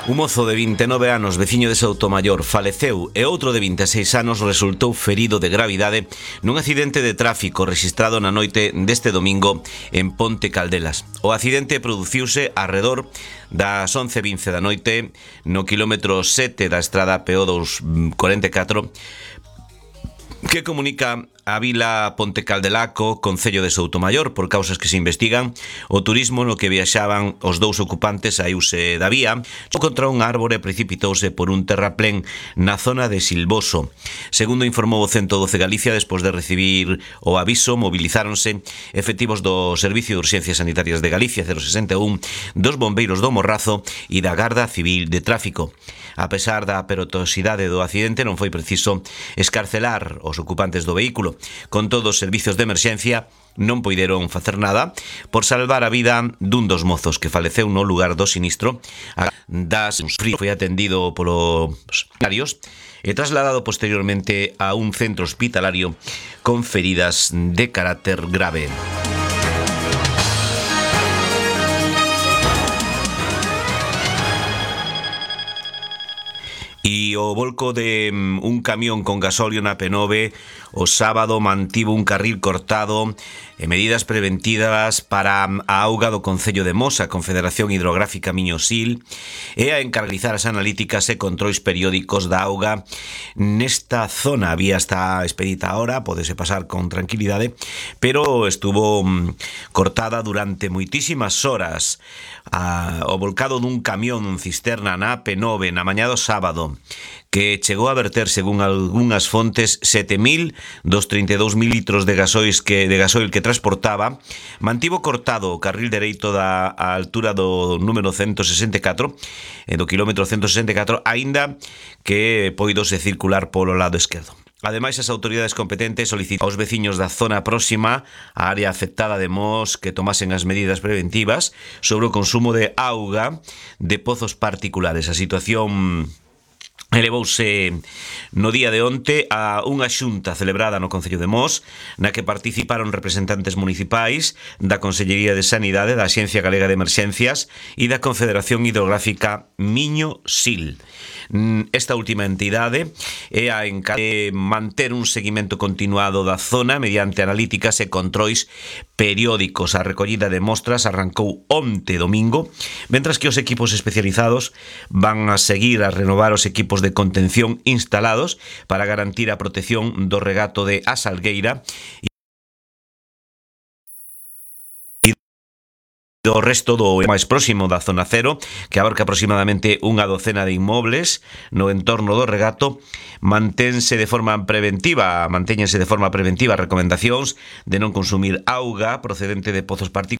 Un mozo de 29 anos, veciño de Soutomaior, faleceu e outro de 26 anos resultou ferido de gravidade nun accidente de tráfico rexistrado na noite deste domingo en Ponte Caldelas. O accidente produciuse arredor das 11:20 da noite no quilómetro 7 da estrada PO244 que comunica a vila Ponte Caldelaco, concello de Soutomaior, por causas que se investigan. O turismo no que viaxaban os dous ocupantes saíuse da vía, contra un árbore e precipitouse por un terraplén na zona de Silvoso. Segundo informou o 112 Galicia, despois de recibir o aviso, mobilizáronse efectivos do Servicio de Urxencias Sanitarias de Galicia 061, dos bombeiros do Morrazo e da Garda Civil de Tráfico. A pesar da perigosidade do accidente, non foi preciso escarcelar os ocupantes do vehículo. Con todo, os servizos de emerxencia non poideron facer nada por salvar a vida dun dos mozos que faleceu no lugar do sinistro. Foi atendido polos sanitarios e trasladado posteriormente a un centro hospitalario con feridas de carácter grave. E o volco de un camión con gasóleo na P9 o sábado mantivo un carril cortado e medidas preventivas para a auga do Concello de Mos, a Confederación Hidrográfica Miño-Sil, e a encargar as analíticas e controis periódicos da auga nesta zona. A vía está expedita ahora, pódese pasar con tranquilidade, pero estuvo cortada durante moitísimas horas. O volcado dun camión cisterna na P9 na mañá do sábado, que chegou a verter, según algunhas fontes, 7.032 litros de gasoil que transportaba, mantivo cortado o carril dereito da altura do número 164, do quilómetro 164, aínda que poidose circular polo lado esquerdo. Ademais, as autoridades competentes solicitaron aos veciños da zona próxima á área afectada de Mos que tomasen as medidas preventivas sobre o consumo de auga de pozos particulares. A situación elevouse no día de onte a unha xunta celebrada no Concello de Mos, na que participaron representantes municipais da Consellería de Sanidade, da Axencia Galega de Emerxencias e da Confederación Hidrográfica Miño-Sil. Esta última entidade é a encargada de manter un seguimento continuado da zona mediante analíticas e controis periódicos. A recollida de mostras arrancou onte domingo, mentras que os equipos especializados van a seguir a renovar os equipos de contención instalados para garantir a protección do regato de A Salgueira do resto do máis próximo da zona cero, que abarca aproximadamente unha docena de inmobles no entorno do regato. Mantéñense de forma preventiva as recomendacións de non consumir auga procedente de pozos particulares.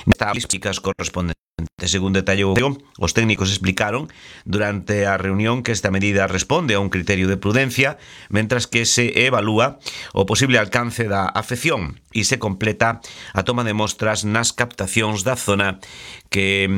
Estas chicas correspondentes. Según detallou, os técnicos explicaron durante a reunión que esta medida responde a un criterio de prudencia, mentras que se evalúa o posible alcance da afección e se completa a toma de mostras nas captacións da zona que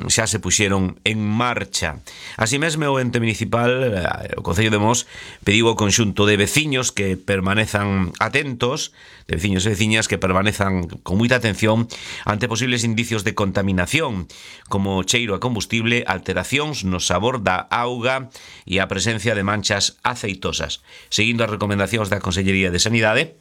xa se puxeron en marcha. Así mesmo, o ente municipal, o Concello de Mos, pediu ao conxunto de veciños que permanezan atentos, de veciños e veciñas que permanezan con moita atención ante posibles indicios de contaminación, como cheiro a combustible, alteracións no sabor da auga e a presencia de manchas aceitosas. Seguindo as recomendacións da Consellería de Sanidade,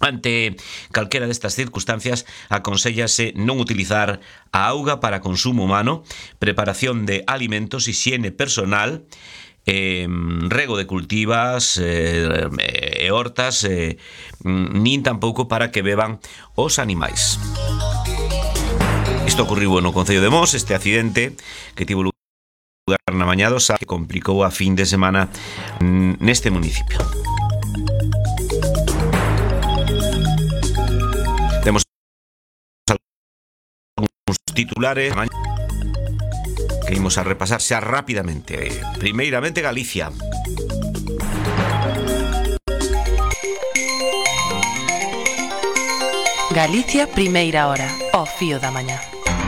ante calquera destas circunstancias, aconsellase non utilizar a auga para consumo humano, preparación de alimentos, hixiene personal, rego de cultivas e hortas, nin tampouco para que beban os animais. Isto ocurriu no Concello de Mos, este accidente que tivo lugar na mañá do sábado, que complicou a fin de semana neste municipio. Temos algúns titulares que imos a repasar xa rapidamente. Primeiramente, Galicia. Galicia, primeira hora, ao fío da mañá.